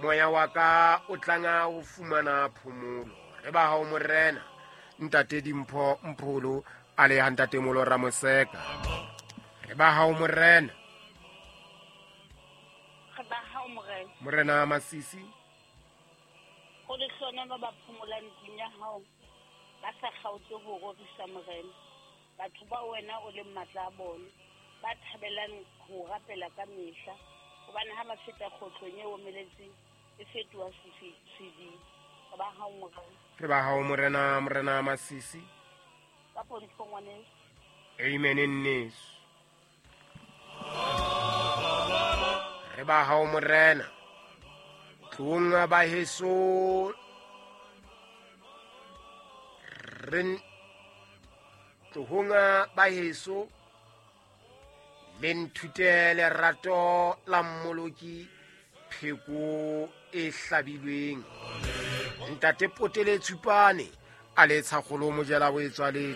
Moya wa ka o tlanga ho fumana phomolo. Re ba hao Morena. Ntate Dimpho Mpholo a le ha Ntate Molo Ramoseka. Re ba hao Morena. Re ba hao Morena. Morena Masisi. Ho lehlohonolo ba phomolang ntlong ya hao, ba sa kgaotse ho rorisa Morena. Batho bao wena o leng matla a bona, ba thabelang ho o rapela ka mehla, hobane ha ba feta kgohlong e omeletseng, e fetoha sediba. Re ba hao Morena. Re ba hao Morena, Morena Masisi. Ka pontsho ngwaneso. Amen nneso. Re ba hao Morena. Tlong ba heso re tlohong ba heso le nthute lerato la Mmoloki pheko e hlabilweng. Ntate Potele Tshupane a le tshakgolo mojela bo e tswaletswe.